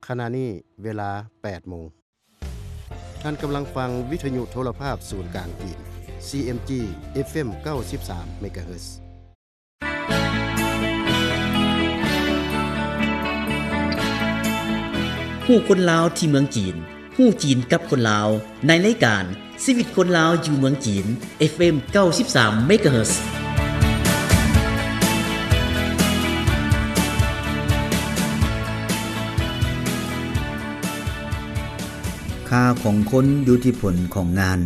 ຂະນະນີ້ເວລາແປດໂມງ. ທ່ານກຳລັງຟັງວິທະຍຸໂທລະພາບສູນກາງຈີນ ຊີເອັມຈີ ເອັຟເອັມ ເກົ້າສິບສາມ ເມກາເຮີດ. ຮູ້ຄົນລາວທີ່ເມືອງຈີນ, ຮູ້ຈີນກັບຄົນລາວ ໃນລາຍການຊີວິດຄົນລາວຢູ່ເມືອງຈີນ ເອັຟເອັມ ເກົ້າສິບສາມ ເມກາເຮີດ. ຄ່າຂອງຄົນຢູ່ທີ່ຜົນຂອງງານ.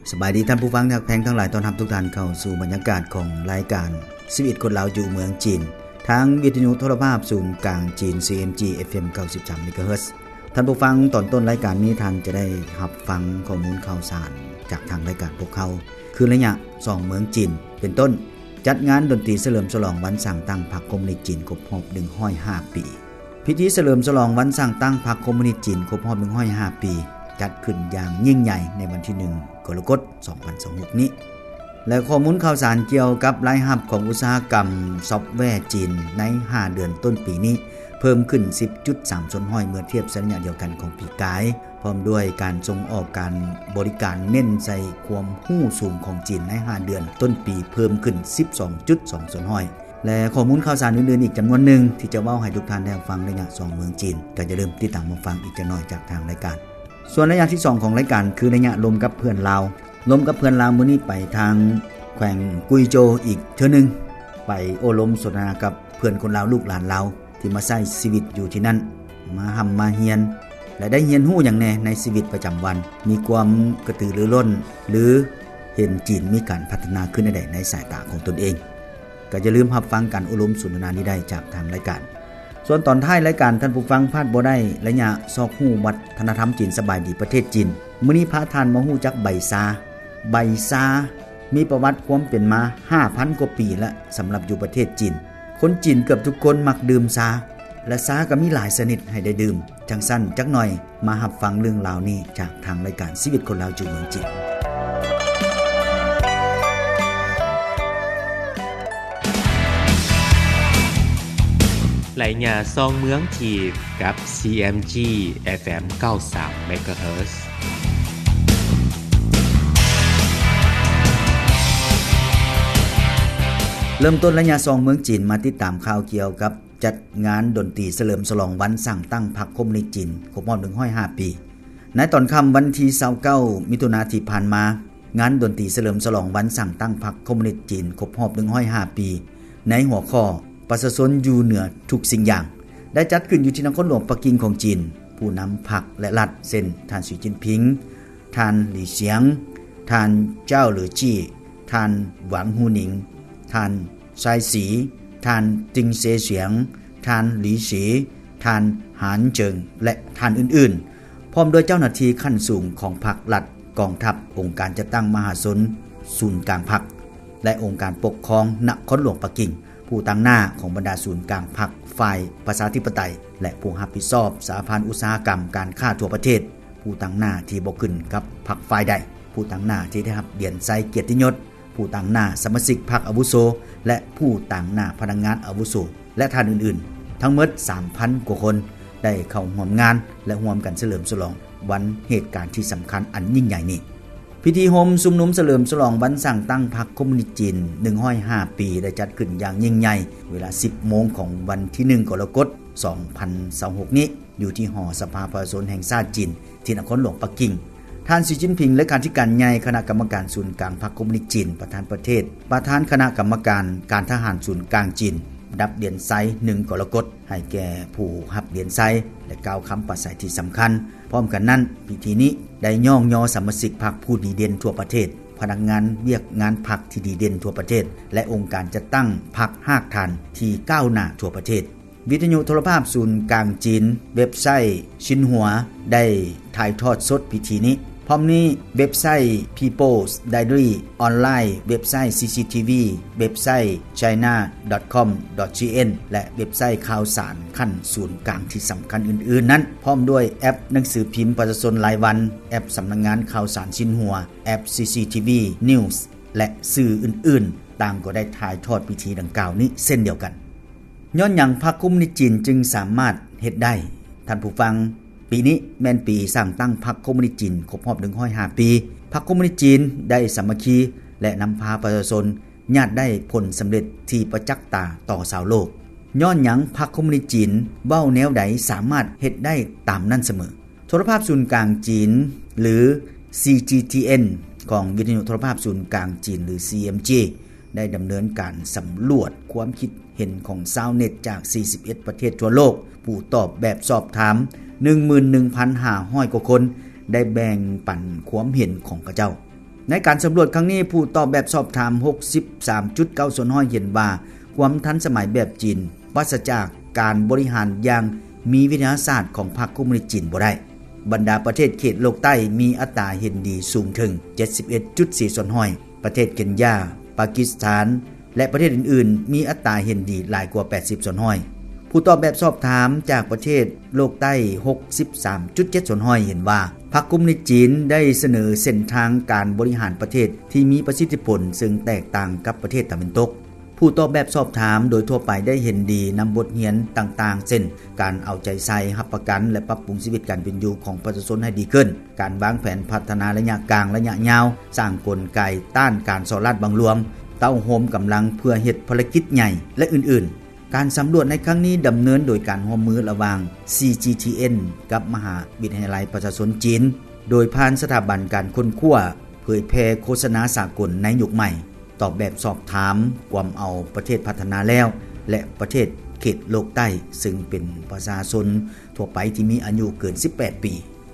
ສະບາຍດີທ່ານຜູ້ຟັງທີ່ຮັກແພງທັງຫຼາຍ, ຕ້ອນຮັບທຸກທ່ານເຂົ້າສູ່ບັນຍາກາດຂອງລາຍການຊີວິດຄົນລາວຢູ່ເມືອງຈີນ ທາງວິທະຍຸໂທລະພາບສູນກາງຈີນ ຊີເອັມຈີ ເອັຟເອັມ ເກົ້າສິບສາມ ເມກາເຮີດ. ທ່ານຜູ້ຟັງ, ຕອນຕົ້ນລາຍການນີ້ທ່ານຈະໄດ້ຮັບຟັງຂໍ້ມູນຂ່າວສານຈາກທາງລາຍການພວກເຮົາ ຄືໄລຍະສອງເມືອງຈີນ ເປັນຕົ້ນ ຈັດງານດົນຕີສະເຫຼີມສະຫຼອງວັນສ້າງຕັ້ງພັກຄອມມູນິດຈີນຄົບຮອບໜຶ່ງຮ້ອຍຫ້າປີ. ພິທີສະເຫຼີມສະຫຼອງວັນສ້າງຕັ້ງພັກຄອມມູນິດຈີນຄົບຮອບໜຶ່ງຮ້ອຍຫ້າປີ ຈັດຂຶ້ນຢ່າງຍິ່ງໃຫຍ່ໃນວັນທີໜຶ່ງ ກໍລະກົດ ສອງພັນຊາວຫົກນີ້ ແລະ ຂໍ້ມູນຂ່າວສານກ່ຽວກັບລາຍຮັບຂອງອຸດສາຫະກຳຊອບແວຈີນໃນຫ້າເດືອນຕົ້ນປີນີ້ ເພີ່ມຂຶ້ນສິບຈຸດສາມສ່ວນຮ້ອຍ ເມື່ອທຽບໃສ່ໄລຍະດຽວກັນຂອງປີກາຍ, ພ້ອມດ້ວຍການສົ່ງອອກການບໍລິການເນັ້ນໃສ່ຄວາມຮູ້ສູງຂອງຈີນໃນຫ້າເດືອນຕົ້ນປີ ເພີ່ມຂຶ້ນສິບສອງຈຸດສອງສ່ວນຮ້ອຍ ແລະ ຂໍ້ມູນຂ່າວສານອື່ນໆອີກຈຳນວນໜຶ່ງ ທີ່ຈະເວົ້າໃຫ້ທຸກທ່ານໄດ້ຮັບຟັງໃນໄລຍະສອງເມືອງຈີນ, ກໍຢ່າລືມຕິດຕາມຮັບຟັງອີກຈັກໜ້ອຍຈາກທາງລາຍການ. ສ່ວນໄລຍະທີສອງຂອງລາຍການ ຄືໄລຍະລົມກັບເພື່ອນລາວ. ລົມກັບເພື່ອນລາວມື້ນີ້ໄປທາງແຂວງກຸຍໂຈວອີກເທື່ອໜຶ່ງ, ໄປໂອ້ລົມສົນທະນາກັບເພື່ອນຄົນລາວ ລູກຫຼານລາວ ທີ່ມາໃຊ້ຊີວິດຢູ່ທີ່ນັ້ນ, ມາຮ່ຳມາຮຽນ ແລະ ໄດ້ຮຽນຮູ້ຫຍັງແດ່ໃນຊີວິດປະຈຳວັນ, ມີຄວາມກະຕືລືລົ້ນ ຫຼື ເຫັນຈີນມີການພັດທະນາຂຶ້ນແນວໃດໃນສາຍຕາຂອງຕົນເອງ. ກໍຢ່າລືມຮັບຟັງການໂອ້ລົມສົນທະນານີ້ໄດ້ຈາກທາງລາຍການ. ສ່ວນຕອນທ້າຍລາຍການ, ທ່ານຜູ້ຟັງພາດບໍ່ໄດ້ໄລຍະຊອກຮູ້ວັດທະນະທຳຈີນ ສະບາຍດີປະເທດຈີນ. ມື້ນີ້ພາທ່ານມາຮູ້ຈັກໃບຊາ. ໃບຊາມີປະຫວັດຄວາມເປັນມາຫ້າພັນກວ່າປີແລ້ວ ສຳລັບຢູ່ປະເທດຈີນ. ຄົນຈີນເກືອບທຸກຄົນມັກດື່ມຊາ ແລະ ຊາກໍມີຫຼາຍຊະນິດໃຫ້ໄດ້ດື່ມ. ຈັ່ງຊັ້ນ, ຈັກໜ່ອຍມາຮັບຟັງເລື່ອງລາວນີ້ຈາກທາງລາຍການຊີວິດຄົນລາວຢູ່ເມືອງຈີນ. ໄລຍະສອງເມືອງຈີນ ກັບ ຊີເອັມຈີ ເອັຟເອັມ ເກົ້າສິບສາມ ເມກາເຮີດ. ເລີ່ມຕົ້ນໄລຍະສອງເມືອງຈີນ ມາຕິດຕາມຂ່າວກ່ຽວກັບຈັດງານດົນຕີສະເຫຼີມສະຫຼອງວັນສ້າງຕັ້ງພັກຄອມມູນິດຈີນຄົບຮອບໜຶ່ງຮ້ອຍຫ້າປີ. ໃນຕອນຄ່ຳວັນທີຊາວເກົ້າ ມິຖຸນາທີ່ຜ່ານມາ, ງານດົນຕີສະເຫຼີມສະຫຼອງວັນສ້າງຕັ້ງພັກຄອມມູນິດຈີນຄົບຮອບໜຶ່ງຮ້ອຍຫ້າປີ ໃນຫົວຂໍ້ ປະຊາຊົນຢູ່ເໜືອທຸກສິ່ງຢ່າງ ໄດ້ຈັດຂຶ້ນຢູ່ທີ່ນະຄອນຫຼວງປັກກິ່ງຂອງຈີນ. ຜູ້ນຳພັກ ແລະ ລັດ ເຊັ່ນ ທ່ານ ສີ ຈິ້ນຜິງ, ທ່ານ ຫຼີ ສຽງ, ທ່ານ ເຈົ້າ ເຫຼືອຈີ້, ທ່ານ ຫວັງ ຫູໜິງ, ທ່ານ ຊາຍສີ, ທ່ານ ຕິງເຊສຽງ, ທ່ານ ຫຼີ ສີ, ທ່ານ ຫານເຈິງ ແລະ ທ່ານອື່ນໆ, ພ້ອມດ້ວຍເຈົ້າໜ້າທີ່ຂັ້ນສູງຂອງພັກ, ລັດ, ກອງທັບ, ອົງການຈັດຕັ້ງມະຫາຊົນ, ສູນກາງພັກ ແລະ ອົງການປົກຄອງນະຄອນຫຼວງປັກກິ່ງ, ຜູ້ຕາງໜ້າຂອງບັນດາສູນກາງພັກຝ່າຍປະຊາທິປະໄຕ ແລະ ຜູ້ຮັບຜິດຊອບສະຫະພັນອຸດສາຫະກຳການຄ້າທົ່ວປະເທດ, ຜູ້ຕາງໜ້າທີ່ບໍ່ຂຶ້ນກັບພັກຝ່າຍໃດ, ຜູ້ຕາງໜ້າທີ່ໄດ້ຮັບຫຼຽນໄຊກຽດຕິຍົດ, ຜູ້ຕາງໜ້າສະມາຊິກພັກອາວຸໂສ ແລະ ຜູ້ຕາງໜ້າພະນັກງານອາວຸໂສ ແລະ ທ່ານອື່ນໆ, ທັງໝົດສາມພັນກວ່າຄົນ ໄດ້ເຂົ້າຮ່ວມງານ ແລະ ຮ່ວມກັນສະເຫຼີມສະຫຼອງວັນເຫດການທີ່ສຳຄັນອັນຍິ່ງໃຫຍ່ນີ້. ພິທີໂຮມຊຸມນຸມສະເຫຼີມສະຫຼອງວັນສ້າງຕັ້ງພັກຄອມມູນິດຈີນໜຶ່ງຮ້ອຍຫ້າປີ ໄດ້ຈັດຂຶ້ນຢ່າງຍິ່ງໃຫຍ່ ເວລາສິບໂມງຂອງວັນທີໜຶ່ງ ກໍລະກົດ ສອງພັນຊາວຫົກນີ້ ຢູ່ທີ່ຫໍສະພາປະຊາຊົນແຫ່ງຊາດຈີນ ທີ່ນະຄອນຫຼວງປັກກິ່ງ. ທ່ານ ສີ ຈິ້ນຜິງ ເລຂາທິການໃຫຍ່ຄະນະກຳມະການສູນກາງພັກຄອມມູນິດຈີນ, ປະທານປະເທດ, ປະທານຄະນະກຳມະການການທະຫານສູນກາງຈີນ ດັບຫຼຽນໄຊໜຶ່ງກໍລະກົດ ໃຫ້ແກ່ຜູ້ຮັບຫຼຽນໄຊ ແລະ ກ່າວຄຳປາໄສທີ່ສຳຄັນ. ພ້ອມກັນນັ້ນ, ພິທີນີ້ໄດ້ຍ້ອງຍໍສະມາຊິກພັກຜູ້ດີເດັ່ນທົ່ວປະເທດ, ພະນັກງານວຽກງານພັກທີ່ດີເດັ່ນທົ່ວປະເທດ ແລະ ອົງການຈັດຕັ້ງພັກຮາກຖານທີ່ກ້າວໜ້າທົ່ວປະເທດ. ວິທະຍຸໂທລະພາບສູນກາງຈີນ, ເວັບໄຊຊິນຫົວ ໄດ້ຖ່າຍທອດສົດພິທີນີ້. ພ້ອມນີ້, ເວັບໄຊ People's Diary ອອນລາຍ, ເວັບໄຊ ຊີຊີທີວີ, ເວັບໄຊ ໄຊນາດອດຄອມດອດຊີເອັນ ແລະ ເວັບໄຊຂ່າວສານຂັ້ນສູນກາງທີ່ສຳຄັນອື່ນໆນັ້ນ, ພ້ອມດ້ວຍແອັບໜັງສືພິມປະຊາຊົນລາຍວັນ, ແອັບສຳນັກງານຂ່າວສານຊິນຫົວ, ແອັບ ຊີຊີທີວີ News ແລະ ສື່ອື່ນໆ ຕ່າງກໍໄດ້ຖ່າຍທອດພິທີດັ່ງກ່າວນີ້ເຊັ່ນດຽວກັນ. ຍ້ອນຫຍັງພັກຄອມມູນິດຈີນຈຶ່ງສາມາດເຮັດໄດ້? ທ່ ທ່ານຜູ້ຟັງ, ປີນີ້ແມ່ນປີສ້າງຕັ້ງພັກຄອມມູນິດຈີນຄົບຮອບໜຶ່ງຮ້ອຍຫ້າປີ. ພັກຄອມມູນິດຈີນໄດ້ສາມັກຄີ ແລະ ນຳພາປະຊາຊົນຍາດໄດ້ຜົນສຳເລັດທີ່ປະຈັກຕາຕໍ່ຊາວໂລກ. ຍ້ອນຫຍັງພັກຄອມມູນິດຈີນເວົ້າແນວໃດສາມາດເຮັດໄດ້ຕາມນັ້ນສະເໝີ? ໂທລະພາບສູນກາງຈີນ ຫຼື CGTN ຂອງວິທະຍຸໂທລະພາບສູນກາງຈີນ ຫຼື CMG ໄດ້ດຳເນີນການສຳຫຼວດຄວາມຄິດເຫັນຂອງຊາວເນັດຈາກສີ່ສິບເອັດປະເທດທົ່ວໂລກ. ຜູ້ຕອບແບບສອບຖາມໜຶ່ງໝື່ນໜຶ່ງພັນຫ້າຮ້ອຍກວ່າຄົນ ໄດ້ແບ່ງປັນຄວາມເຫັນຂອງເຂົາເຈົ້າ. ໃນການສຳຫຼວດຄັ້ງນີ້, ຜູ້ຕອບແບບສອບຖາມຫົກສິບສາມຈຸດເກົ້າສ່ວນຮ້ອຍເຫັນວ່າ ຄວາມທັນສະໄໝແບບຈີນ ປາສະຈາກການບໍລິຫານຢ່າງມີວິທະຍາສາດຂອງພັກຄອມມູນິດຈີນບໍ່ໄດ້. ບັນດາປະເທດເຂດໂລກໃຕ້ມີອັດຕາເຫັນດີສູງເຖິງເຈັດສິບເອັດຈຸດສີ່ສ່ວນຮ້ອຍ, ປະເທດເຄນຢາ, ປາກິສຖານ ແລະ ປະເທດອື່ນໆ ມີອັດຕາເຫັນດີຫຼາຍກວ່າແປດສິບສ່ວນຮ້ອຍ. ຜູ້ຕອບແບບສອບຖາມຈາກປະເທດໂລກໃຕ້ຫົກສິບສາມຈຸດເຈັດສ່ວນຮ້ອຍເຫັນວ່າ ພັກຄອມມູນິດຈີນໄດ້ສະເໜີເສັ້ນທາງການບໍລິຫານປະເທດທີ່ມີປະສິດທິຜົນ ເຊິ່ງແຕກຕ່າງກັບປະເທດຕາເວັນຕົກ. ຜູ້ຕອບແບບສອບຖາມໂດຍທົ່ວໄປໄດ້ເຫັນດີນຳບົດຮຽນຕ່າງໆ ເຊັ່ນ ການເອົາໃຈໃສ່, ຮັບປະກັນ ແລະ ປັບປຸງຊີວິດການເປັນຢູ່ຂອງປະຊາຊົນໃຫ້ດີຂຶ້ນ, ການວາງແຜນພັດທະນາໄລຍະກາງ, ໄລຍະຍາວ, ສ້າງກົນໄກຕ້ານການສໍ້ລາດບັງຫຼວງ, ເຕົ້າໂຮມກຳລັງເພື່ອເຮັດພາລະກິດໃຫຍ່ ແລະ ອື່ນໆ. ການສຳຫຼວດໃນຄັ້ງນີ້ດຳເນີນໂດຍການຮ່ວມມືລະຫວ່າງ CGTN ກັບມະຫາວິທະຍາໄລປະຊາຊົນຈີນ ໂດຍຜ່ານສະຖາບັນການຄົ້ນຄວ້າເຜີຍແຜ່ໂຄສະນາສາກົນໃນຍຸກໃໝ່. ຕອບແບບສອບຖາມກວມເອົາປະເທດພັດທະນາແລ້ວ ແລະ ປະເທດເຂດໂລກໃຕ້ ເຊິ່ງເປັນປະຊາຊົນທົ່ວໄປທີ່ມີອາຍຸເກີນສິບແປດປີ.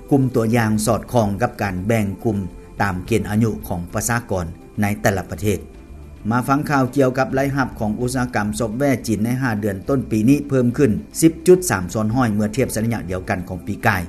ກຸ່ມຕົວຢ່າງສອດຄ່ອງກັບການແບ່ງກຸ່ມຕາມເກນອາຍຸຂອງປະຊາກອນໃນແຕ່ລະປະເທດ. ມາຟັງຂ່າວກ່ຽວກັບລາຍຮັບຂອງອຸດສາຫະກຳຊອບແວຈີນໃນຫ້າເດືອນຕົ້ນປີນີ້ເພີ່ມຂຶ້ນສິບຈຸດສາມສ່ວນຮ້ອຍເມື່ອທຽບໃສ່ໄລຍະດຽວກັນຂອງປີກາຍ.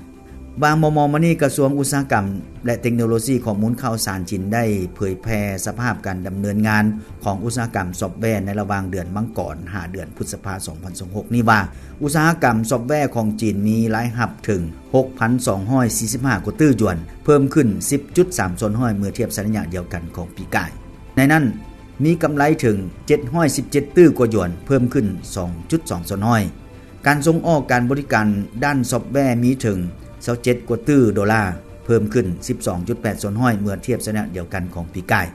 ວ່າມໍ່ໆມານີ້ ກະຊວງອຸດສາຫະກຳ ແລະ ເຕັກໂນໂລຊີຂໍ້ມູນຂ່າວສານຈີນໄດ້ເຜີຍແຜ່ສະພາບການດຳເນີນງານຂອງອຸດສາຫະກຳຊອບແວໃນລະຫວ່າງເດືອນມັງກອນຫາເດືອນພຶດສະພາ ສອງພັນຊາວຫົກນີ້ວ່າ ອຸດສາຫະກຳຊອບແວຂອງຈີນມີລາຍຮັບເຖິງຫົກພັນສອງຮ້ອຍສີ່ສິບຫ້າກວ່າຕື້ຢວນ, ເພີ່ມຂຶ້ນສິບຈຸດສາມສ່ວນຮ້ອຍເມື່ອທຽບໃສ່ໄລຍະດຽວກັນຂອງປີກາຍ. ໃນນັ້ນ ມີກຳໄລເຖິງເຈັດຮ້ອຍສິບເຈັດຕື້ກວ່າຢວນ, ເພີ່ມຂຶ້ນສອງຈຸດສອງສ່ວນຮ້ອຍ. ການສົ່ງອອກການບໍລິການດ້ານຊອບແວມີເຖິງຊາວເຈັດກວ່າຕື້ໂດລາ, ເພີ່ມຂຶ້ນສິບສອງຈຸດແປດສ່ວນຮ້ອຍເມື່ອທຽບໃສ່ໄລຍະດຽວກັນຂອງປີກາຍ.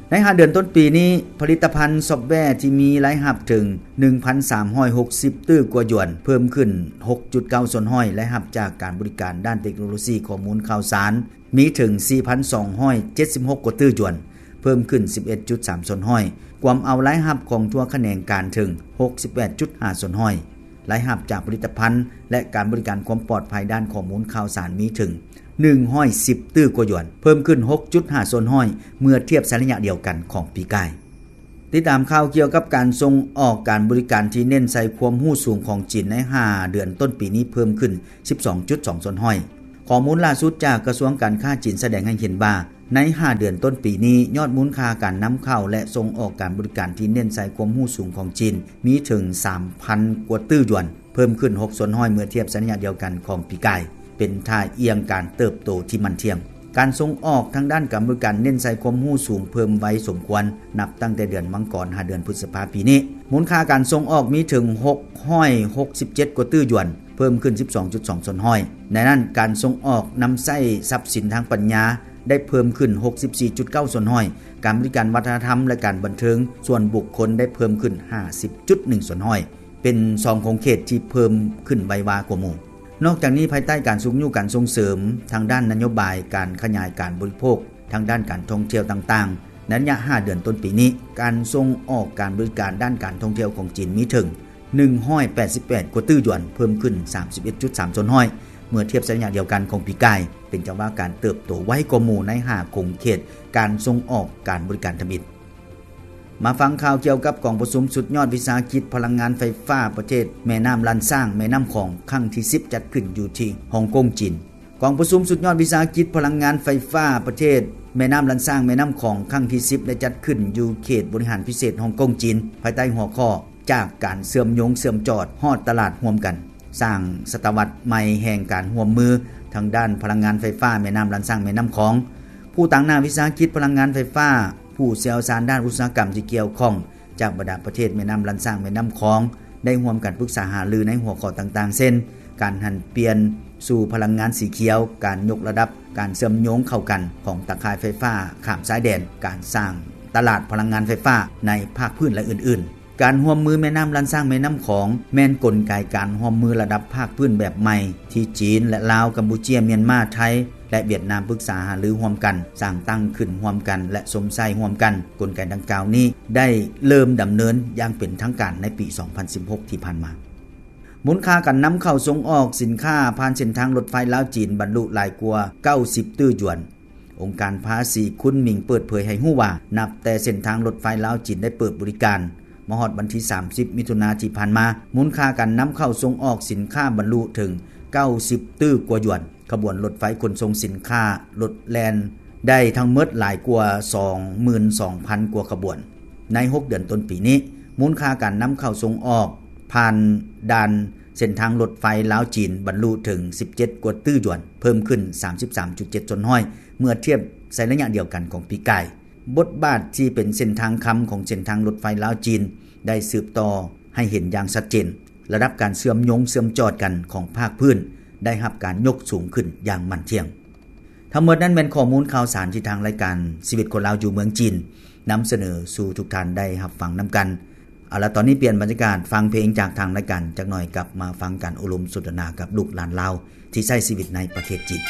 ໃນຫ້າເດືອນຕົ້ນປີນີ້, ຜະລິດຕະພັນຊອບແວທີ່ມີລາຍຮັບເຖິງໜຶ່ງພັນສາມຮ້ອຍຫົກສິບຕື້ກວ່າຢວນ, ເພີ່ມຂຶ້ນຫົກຈຸດເກົ້າສ່ວນຮ້ອຍ. ລາຍຮັບຈາກການບໍລິການດ້ານເຕັກໂນໂລຊີຂໍ້ມູນຂ່າວສານ ມີເຖິງສີ່ພັນສອງຮ້ອຍເຈັດສິບຫົກກວ່າຕື້ຢວນ, ເພີ່ມຂຶ້ນສິບເອັດຈຸດສາມສ່ວນຮ້ອຍ, ກວມເອົາລາຍຮັບຂອງທົ່ວຂະແໜງການເຖິງຫົກສິບແປດຈຸດຫ້າສ່ວນຮ້ອຍ. ລາຍຮັບຈາກຜະລິດຕະພັນ ແລະ ການບໍລິການຄວາມປອດໄພດ້ານຂໍ້ມູນຂ່າວສານມີເຖິງໜຶ່ງຮ້ອຍສິບຕື້ກວ່າຢວນ, ເພີ່ມຂຶ້ນຫົກຈຸດຫ້າສ່ວນຮ້ອຍ ເມື່ອທຽບໃສ່ໄລຍະດຽວກັນຂອງປີກາຍ. ຕິດຕາມຂ່າວກ່ຽວກັບການສົ່ງອອກການບໍລິການທີ່ເນັ້ນໃສ່ຄວາມຮູ້ສູງຂອງຈີນໃນຫ້າເດືອນຕົ້ນປີນີ້ເພີ່ມຂຶ້ນສິບສອງຈຸດສອງສ່ວນຮ້ອຍ. ຂໍ້ມູນລ່າສຸດຈາກກະຊວງການຄ້າຈີນສະແດງໃຫ້ເຫັນວ່າ ໃນຫ້າເດືອນຕົ້ນປີນີ້, ຍອດມູນຄ່າການນຳເຂົ້າ ແລະ ສົ່ງອອກການບໍລິການທີ່ເນັ້ນໃສ່ຄວາມຮູ້ສູງຂອງຈີນ ມີເຖິງສາມພັນກວ່າຕື້ຢວນ, ເພີ່ມຂຶ້ນຫົກສ່ວນຮ້ອຍເມື່ອທຽບໃສ່ໄລຍະດຽວກັນຂອງປີກາຍ, ເປັນທ່າອ່ຽງການເຕີບໂຕທີ່ໝັ້ນທ່ຽງ. ການສົ່ງອອກທາງດ້ານການບໍລິການເນັ້ນໃສ່ຄວາມຮູ້ສູງເພີ່ມໄວສົມຄວນ, ນັບຕັ້ງແຕ່ເດືອນມັງກອນຫາເດືອນພຶດສະພາປີນີ້. ມູນຄ່າການສົ່ງອອກມີເຖິງຫົກຮ້ອຍຫົກສິບເຈັດກວ່າຕື້ຢວນ, ເພີ່ມຂຶ້ນສິບສອງຈຸດສອງສ່ວນຮ້ອຍ. ໃນນັ້ນ, ການສົ່ງອອກນຳໃຊ້ຊັບສິນທາງປັນຍາໄດ້ເພີ່ມຂຶ້ນຫົກສິບສີ່ຈຸດເກົ້າສ່ວນຮ້ອຍ, ການບໍລິການວັດທະນະທຳ ແລະ ການບັນເທີງສ່ວນບຸກຄົນໄດ້ເພີ່ມຂຶ້ນຫ້າສິບຈຸດໜຶ່ງສ່ວນຮ້ອຍ, ເປັນສອງຂົງເຂດທີ່ເພີ່ມຂຶ້ນໄວກວ່າໝູ່. ນອກຈາກນີ້, ພາຍໃຕ້ການຊຸກຍູ້ການສົ່ງເສີມທາງດ້ານນະໂຍບາຍການຂະຫຍາຍການບໍລິໂພກ ທາງດ້ານການທ່ອງທ່ຽວຕ່າງໆ ໃນໄລຍະຫ້າເດືອນຕົ້ນປີນີ້, ການສົ່ງອອກການບໍລິການດ້ານການທ່ອງທ່ຽວຂອງຈີນມີເຖິງໜຶ່ງຮ້ອຍແປດສິບແປດກວ່າຕື້ຢວນ, ເພີ່ມຂຶ້ນສາມສິບເອັດຈຸດສາມສ່ວນຮ້ອຍ ເມື່ອທຽບໃສ່ໄລຍະດຽວກັນຂອງປີກາຍ, ເປັນຈັງຫວະການເຕີບໂຕໄວກວ່າໝູ່ໃນຫ້າຂົງເຂດການສົ່ງອອກການບໍລິການທຳອິດ. ມາຟັງຂ່າວກ່ຽວກັບກອງປະຊຸມສຸດຍອດວິສາຫະກິດພະລັງງານໄຟຟ້າປະເທດແມ່ນ້ຳລ້ານຊ້າງ ແມ່ນ້ຳຂອງ ຄັ້ງທີສິບ ຈັດຂຶ້ນຢູ່ທີ່ຮົງກົງ ຈີນ. ກອງປະຊຸມສຸດຍອດວິສາຫະກິດພະລັງງານໄຟຟ້າປະເທດແມ່ນ້ຳລ້ານຊ້າງ ແມ່ນ້ຳຂອງ ຄັ້ງທີສິບ ໄດ້ຈັດຂຶ້ນຢູ່ເຂດບໍລິຫານພິເສດຮົງກົງ ຈີນ, ພາຍໃຕ້ຫົວຂໍ້ ຈາກການເຊື່ອມໂຍງເຊື່ອມຈອດຮອດຕະຫຼາດຮ່ວມກັນ, ສ້າງສະຕະວັດໃໝ່ແຫ່ງການຮ່ວມມືທາງດ້ານພະລັງງານໄຟຟ້າແມ່ນ້ຳລ້ານຊ້າງ ແມ່ນ້ຳຂອງ. ຜູ້ຕາງໜ້າວິສາຫະກິດພະລັງງານໄຟຟ້າ, ຜູ້ຊ່ຽວຊານດ້ານອຸດສາຫະກຳທີ່ກ່ຽວຂ້ອງ ຈາກບັນດາປະເທດແມ່ນ້ຳລ້ານຊ້າງ ແມ່ນ້ຳຂອງ ໄດ້ຮ່ວມກັນປຶກສາຫາລືໃນຫົວຂໍ້ຕ່າງໆ ເຊັ່ນ: ການຫັນປ່ຽນສູ່ພະລັງງານສີຂຽວ, ການຍົກລະດັບການເຊື່ອມໂຍງເຂົ້າກັນຂອງຕາຂ່າຍໄຟຟ້າຂ້າມຊາຍແດນ, ການສ້າງຕະຫຼາດພະລັງງານໄຟຟ້າໃນພາກພື້ນ ແລະ ອື່ນໆ. ການຮ່ວມມືແມ່ນ້ຳລ້ານຊ້າງ ແມ່ນ້ຳຂອງ ແມ່ນກົນໄກການຮ່ວມມືລະດັບພາກພື້ນແບບໃໝ່ ທີ່ຈີນ ແລະ ລາວ, ກຳປູເຈຍ, ມຽນມາ, ໄທ ແລະ ຫວຽດນາມ ປຶກສາຫາລືຮ່ວມກັນ, ສ້າງຕັ້ງຂຶ້ນຮ່ວມກັນ ແລະ ຊົມໃຊ້ຮ່ວມກັນ. ກົນໄກດັ່ງກ່າວນີ້ໄດ້ເລີ່ມດຳເນີນຢ່າງເປັນທາງການໃນປີສອງພັນສິບຫົກທີ່ຜ່ານມາ. ມູນຄ່າການນຳເຂົ້າສົ່ງອອກສິນຄ້າຜ່ານເສັ້ນທາງລົດໄຟລາວ-ຈີນ ບັນລຸຫຼາຍກວ່າເກົ້າສິບຕື້ຢວນ. ອົງການພາສີຄຸນໝິງເປີດເຜີຍໃຫ້ຮູ້ວ່າ ນັບແຕ່ເສັ້ນທາງລົດໄຟລາວ-ຈີນໄດ້ເປີດບໍລິການ ມາຮອດວັນທີສາມສິບ ມິຖຸນາທີ່ຜ່ານມາ, ມູນຄ່າການນຳເຂົ້າສົ່ງອອກສິນຄ້າບັນລຸເຖິງເກົ້າສິບຕື້ກວ່າຢວນ. ຂະບວນລົດໄຟຂົນສົ່ງສິນຄ້າລົດແລ່ນໄດ້ທັງໝົດຫຼາຍກວ່າສອງໝື່ນສອງພັນກວ່າຂະບວນ. ໃນຫົກເດືອນຕົ້ນປີນີ້, ມູນຄ່າການນຳເຂົ້າສົ່ງອອກຜ່ານດ່ານເສັ້ນທາງລົດໄຟລາວ-ຈີນ ບັນລຸເຖິງສິບເຈັດກວ່າຕື້ຢວນ, ເພີ່ມຂຶ້ນສາມສິບສາມຈຸດເຈັດສ່ວນຮ້ອຍ ເມື່ອທຽບໃສ່ໄລຍະດຽວກັນຂອງປີກາຍ. ບົດບາດທີ່ເປັນເສັ້ນທາງຄຳຂອງເສັ້ນທາງລົດໄຟລາວ-ຈີນ ໄດ້ສືບຕໍ່ໃຫ້ເຫັນຢ່າງຊັດເຈນ. ລະດັບການເຊື່ອມໂຍງເຊື່ອມຈອດກັນຂອງພາກພື້ນໄດ້ຮັບການຍົກສູງຂຶ້ນຢ່າງໝັ້ນທ່ຽງ. ທັງໝົດນັ້ນແມ່ນຂໍ້ມູນຂ່າວສານທີ່ທາງລາຍການຊີວິດຄົນລາວຢູ່ເມືອງຈີນ ນຳສະເໜີສູ່ທຸກທ່ານໄດ້ຮັບຟັງນຳກັນ. ເອົາລະ, ຕອນນີ້ປ່ຽນບັນຍາກາດ, ຟັງເພງຈາກທາງລາຍການຈັກໜ່ອຍ, ກັບມາຟັງການໂອ້ລົມສົນທະນາກັບລູກຫຼານລາວທີ່ໃຊ້ຊີວິດໃນປະເທດຈີນ.